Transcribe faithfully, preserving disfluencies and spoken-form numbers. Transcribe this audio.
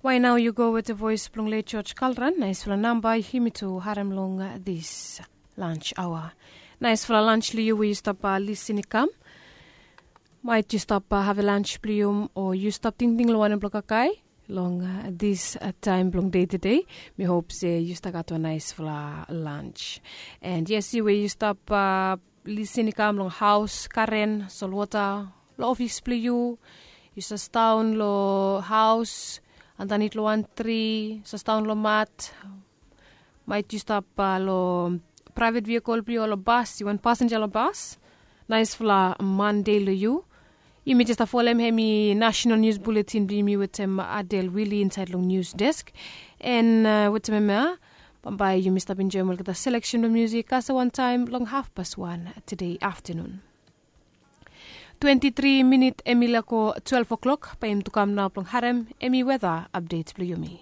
Wae nao yu go wete voes blong let george kalran naesfala namba yumi tu harem long dis. Lans aoa. Naesfala lans long yu we yu stap lisin i kam. Maet yu stap have lans blong yu o yu stap tingting long wanem blong kakae long dis taem blong dei tede. Mi hop se yu stap gat wan naesfala lans. And yes yu we yu stap lisin i kam long haos karen solwota long ofis blong yu. Yu sasdaon long haos andanit long wan tri sasdaon long mat. Maet yu stap long praevet vihikol blong yu o long bas yu wan pasenja long bas. Naesfala mande long yu. Yumi jes stap folem hem i nasenal nius buletin blong yumi wetem adel wili insaed long nius desk. An wetem hem ya bambae yumi stap enjoem olgeta seleksen blong musik kasem wantaem long hafpas wan tede aftanun. Twenti tri minit hem i laek go twelef o'klok bae yumi tu kam nao blong harem hem i weta apdet blong yumi.